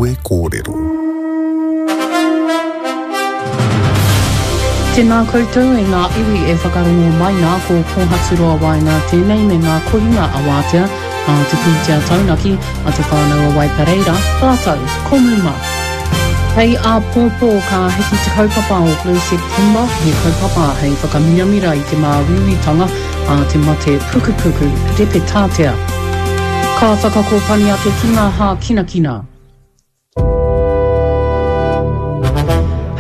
Kawe Kōrero. Tēnā koutou e ngā iwi e whakarongo mai nā, ko Kōhaturoa Waenga tēnei me ngā kohinga a Wātea, a Te Pūtea Taunaki, a Te Whānau a Waipareira, rātou ko Muma. Hei āpōpō ka hiki te kaupapa o Blue September, he kaupapa hei whakamiramira i te māuiuitanga a te mate pukupuku repetātea. Ka whakakōpani ake ki ngā hākinakina.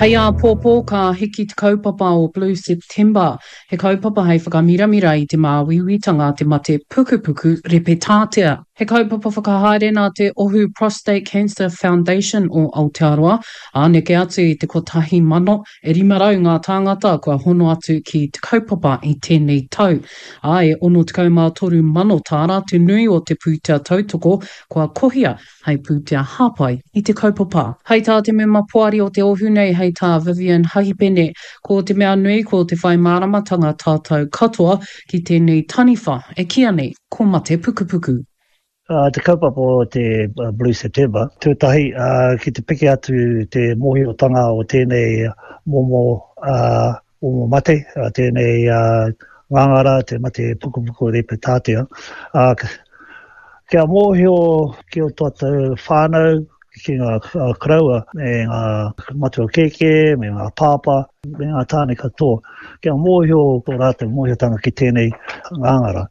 Hei āpōpō ka hiki te kaupapa o Blue September, he kaupapa hei whakamiramira i te māuiuitanga a te mate pukupuku repetātea. He kaupapa whakahaere nā te Ohu Prostate Cancer Foundation o Aotearoa, ā, neke atu i te 1,000 E 500 ngā tāngata kua hono atu ki te kaupapa i tēnei tau, ā, e 63 mano tāra te nui o te pūtea tautoko kua kohia hei pūtea hāpai i te kaupapa. Hei tā te mema poari o te ohu nei, hei tā Vivian Hahipene, ko te mea nui ko te whai māramatanga tātou katoa ki tēnei taniwha e kīia nei ko mate pukupuku. Te kaupapa o te Blue September, tuatahi ki te piki atu te mōhiotanga o tēnei momo momo mate, tēnei ngāngara, te mate pukupuku repetātea. Kia mōhio ki o tātou whānau, ki ngā koroua me ngā matua kēkē, me ngā pāpā, me ngā tāne katoa, kia mōhio tō rātou mōhiotanga ki tēnei ngāngara.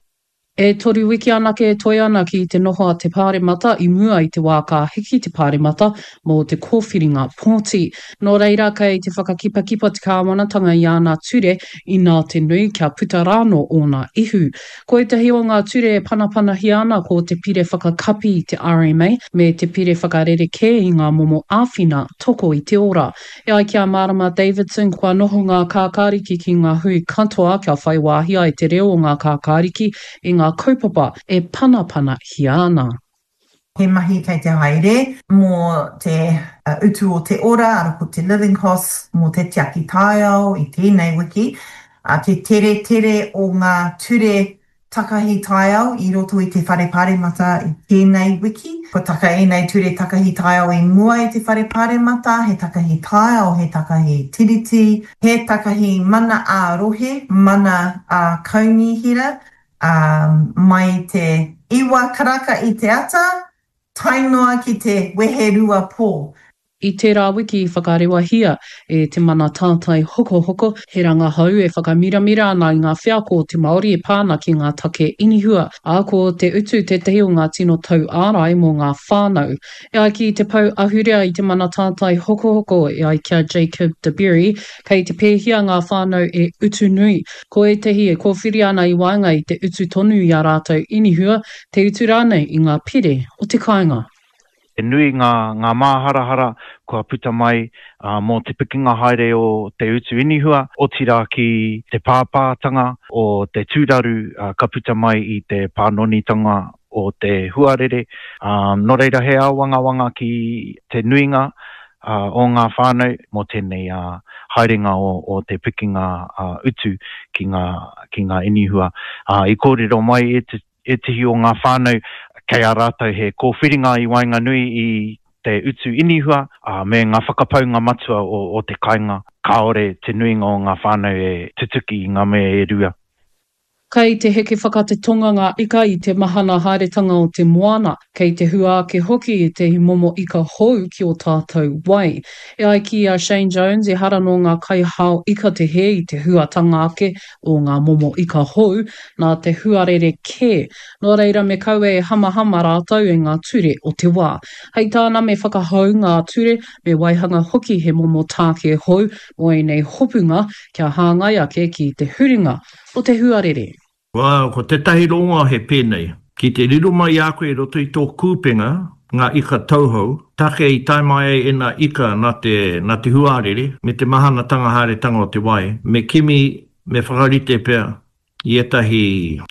E toru wiki anake e toe ana ki te noho a te Pāremata i mua i te wā ka hiki te Pāremata mō te kōwhiringa pōti. Nō reira, kei te whakakipakipa te kāwanatanga i āna ture inā te nui kia puta rānō ōna ihu. Ko ētahi o ngā ture e panapanahia ana ko te pire whakakapi i te RMA me te pire whakarerekē i ngā momo āwhina toko i te ora. E ai ki a Marama Davidson, kua noho ngā kākāriki ki ngā hui katoa kia whai wāhi ai te reo o ngā kākāriki i ngā kaupapa e panapanahia ana. He mahi kei te haere mō te utu o te ora, ara ko te living costs mō te tiaki taiao i tēnei wiki, te teretere o ngā ture Takahi taiao i roto i te Whare Pāremata i tēnei wiki. Kua taka ēnei ture takahi taiao i mua i te Whare Pāremata, he takahi taiao, he takahi tiriti, he takahi mana ā-rohe, mana ā-kaunihera, ā, mai i te iwa karaka i te ata, tae noa ki te weherua pō. I tērā wiki i whakarewahia e Te Mana Tātai Hokohoko he rangahau e whakamiramira ana i ngā wheako o te Māori e pā ana ki ngā take inihua, ā, ko te utu tētahi o ngā tino tauārai mō ngā whānau. E ai ki te pou ahurea i Te Mana Tātai Hokohoko, e ai ki a Jacob DeBerry, kei te pēhia ngā whānau e utu nui. Ko ētahi e kōwhiri ana i waenga i te utu tonu i ā rātou inihua, te utu rānei i ngā pire o te kāinga. He nui ngā ngā māharahara kua puta mai mō te pikinga haere o te utu inihua, otirā ki te pāpātanga o te tūraru ka puta mai i te pānonitanga o te huarere. Nō reira he āwangawanga ki te nuinga o ngā whānau mō tēnei haerenga o te pikinga utu ki ngā ki ngā inihua. I kōrero mai ētehi o ngā whānau kei a rātou he kōwhiringa i waenganui i te utu inihua me ngā whakapaunga matua o te kainga, kāore te nuinga o ngā whānau e tutuki i ngā mea e rua. Kei te heke whakatetonga ngā ika i te mahana haeretanga o te moana, kei te hua ake hoki ētehi momo ika hou ki ō tātou wai. E ai ki a Shane Jones, ehara nō ngā kaihao ika te hē i te huatanga ake o ngā momo ika hou, nā te huarere kē. Nō reira me kaua e hamahama rātou e ngā ture o te wā. Hei tāna me whakahou ngā ture, me waihanga hoki he momo tāke hou mō ēnei hopunga kia hāngai ake ki te huringa o te huarere. Ko tētahi rongoa he pēnei, ki te riro mai i a koe i roto i tō kūpenga ngā ika tauhou, take i tae mai ai ēnā ika nā te, nā te huarere, me te mahanatanga haeretanga o te wai, me kimi, me whakarite pea i ētahi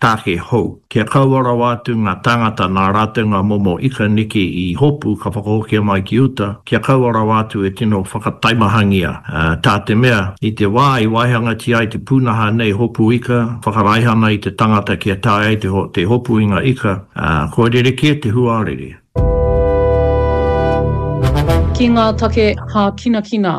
tāke hou, kia kaua rawa atu ngā tāngata nā rātou ngā momo ika neke i hopu ka whakahokia mai ki uta, kia kaua rawa atu e tino whakataimahangia, tā te mea, i te wā i waihangatia ai te pūnaha nei hopu ika, whakaraihana i te tangata kia taea ai te hopu i ngā ika, kua rerekē te huarere. Ki ngā take hākinakina,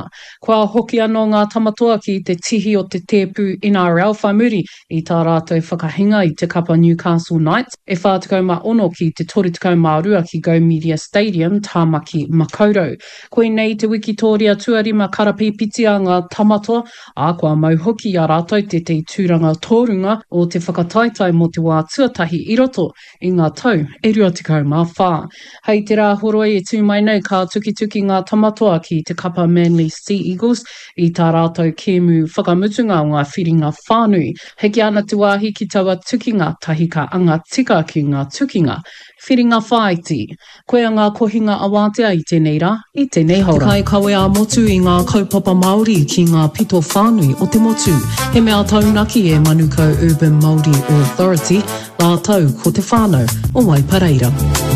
kua hoki anō ngā Tamatoa ki te tihi o te tēpu NRL whai muri i tā rātou whakahinga i te kapa Newcastle Knights e 46 ki te 32 ki Go Media Stadium, Tāmaki Makaurau. Koinei te wikitōria tuarima karapīpiti a ngā Tamatoa, ā, kua mau hoki i a rātou tētahi tūranga tōrunga o te whakataetae mō te wā tuatahi i roto i ngā tau e 24. Hei te Rāhoroi e tū mai nei ka tukituki ngā Tamatoa ki te kapa Manly Sea Eagles i tā rātou kēmu whakamutunga o ngā whiringa whānui. Hiki ana te wāhi ki taua tukinga tahi ka anga tika ki ngā tukinga whiringa whāiti. Koia ngā kohinga awātea i tēnei rā, i tēnei haora. Te kaikawe ā-motu i ngā kaupapa Māori ki ngā pito whānui o te motu. He mea taunaki e Manukau Urban Māori Authority, rātou ko te whānau o Waipareira.